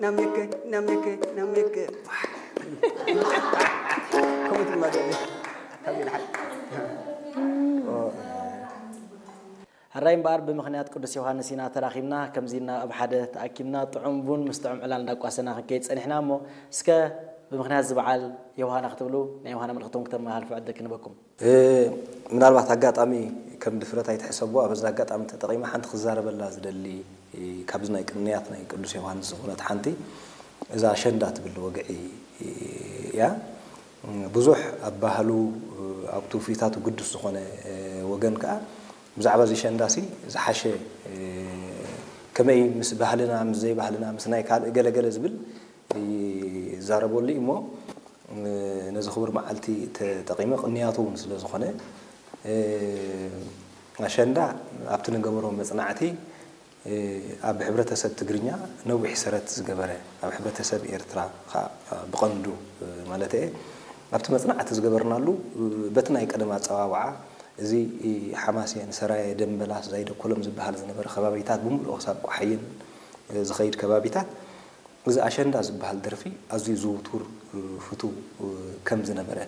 ናሜከ ናሜከ ናሜከ ከምኡ ትማገለ ካብዚ ንሓ ሕራይ እምበኣር ብምኽንያት ቅዱስ ዮሃንስ ኢና ተራኺብና። ከምዚ እና ኣብ ሓደ ተኣኪብና ጥዑም ቡን ምስ ጥዑም ዕላል እንዳቋሰና ክንከይድ ጸኒሕና። እሞ እስከ ብምኽንያት እዚ በዓል ዮሃና ክትብሉ ናይ ዮሃና መልእኽቶም ክተመሃላልፉ ዕድል ክንበኩም። ምናልባት ኣጋጣሚ ከም ድፍረት ኣይትሕሰብዎ። ኣብዚ ኣጋጣሚ ተጠቒመ ሓንቲ ክዛረበላ ዝደሊ ካብዚ ናይ ቅንያት ናይ ቅዱስ ዮሃንስ ዝኾነት ሓንቲ እዛ ኣሸንዳ ትብል ወግዒ እያ። ብዙሕ ኣብ ባህሉ ኣብ ትውፊታቱ ግዱስ ዝኾነ ወገን ከዓ ብዛዕባ እዚ ሸንዳሲ ዝሓሸ ከመይ ምስ ባህልና ምስ ዘይባህልና ምስ ናይ ካልእ ገለገለ ዝብል ይዛረበሉ እዩ እሞ ነዚ ክቡር መዓልቲ ተጠቒመ ቅንያቱ እውን ስለ ዝኾነ ኣሸንዳ ኣብቲ ንገበሮ መፅናዕቲ ኣብ ሕብረተሰብ ትግርኛ ነዊሕ ሰረት ዝገበረ ኣብ ሕብረተሰብ ኤርትራ ከዓ ብቐንዱ ማለት እየ ኣብቲ መፅናዕቲ ዝገበርናሉ በቲ ናይ ቀደም ኣፀዋውዓ እዚ ሓማሴን ሰራየ ደንበላስ ዛይደኮሎም ዝበሃል ዝነበረ ከባቢታት ብምልኦ ክሳብ ቋሓይን ዝኸይድ ከባቢታት እዚ ኣሸንዳ ዝበሃል ደርፊ ኣዝዩ ዝውቱር ፍቱው ከም ዝነበረ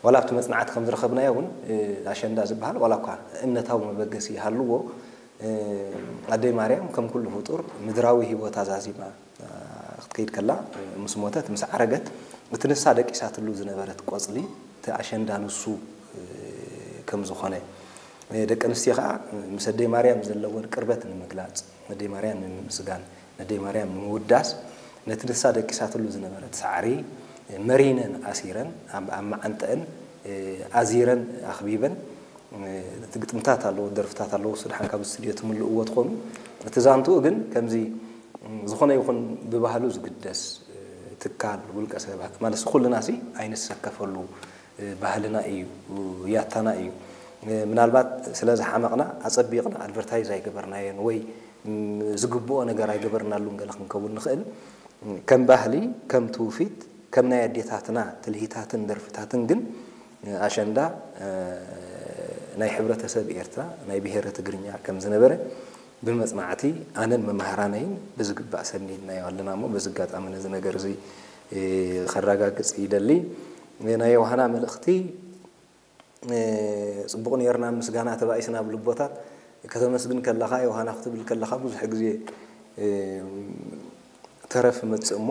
ዋላ ኣብቲ መፅናዕቲ ከም ዝረኸብናዮ እውን ኣሸንዳ ዝበሃል ዋላ እኳ እምነታዊ መበገሲ ይሃልዎ ኣደይ ማርያም ከም ኩሉ ፍጡር ምድራዊ ህይወታ ዛዚማ ክትከይድ ከላ ምስ ሞተት ምስ ዓረገት እቲ ንሳ ደቂሳትሉ ዝነበረት ቆፅሊ እቲ ኣሸንዳ ንሱ ከም ዝኾነ ደቂ ኣንስትዮ ከዓ ምስ ኣደይ ማርያም ዘለወን ቅርበት ንምግላፅ ነደይ ማርያም ንምምስጋን ነደይ ማርያም ንምውዳስ ነቲ ንሳ ደቂሳትሉ ዝነበረት ሳዕሪ መሪነን ኣሲረን ኣብ መዓንጠአን ኣዚረን ኣኽቢበን እቲ ግጥምታት ኣለዎ ደርፍታት ኣለዎ ስድሓን ካብ ስቱድዮ ትምልእዎ ትኾኑ እቲ ዛንትኡ ግን ከምዚ ዝኾነ ይኹን ብባህሉ ዝግደስ ትካል ውልቀ ሰባት ማለት ኩልና ሲ ኣይንሰከፈሉ ባህልና እዩ ያታና እዩ ምናልባት ስለ ዝሓመቕና ኣፀቢቕና ኣድቨርታይዝ ኣይገበርናየን ወይ ዝግብኦ ነገር ኣይገበርናሉን ገለ ክንከውን ንኽእል ከም ባህሊ ከም ትውፊት ከም ናይ ኣዴታትና ትልሂታትን ደርፍታትን ግን ኣሸንዳ ናይ ሕብረተሰብ ኤርትራ ናይ ብሄረ ትግርኛ ከም ዝነበረ ብመፅናዕቲ ኣነን መማህራነይን ብዝግባእ ሰኒድናዮ ኣለና እሞ በዚ ኣጋጣሚ ነዚ ነገር እዚ ከረጋግፅ ይደሊ ናይ ዮሃና መልእኽቲ ፅቡቕ ነርና ምስጋና ተባኢስና ብልቦታት ከተመስግን ከለኻ ዮሃና ክትብል ከለኻ ብዙሕ ግዜ ተረፍ መፅእ እሞ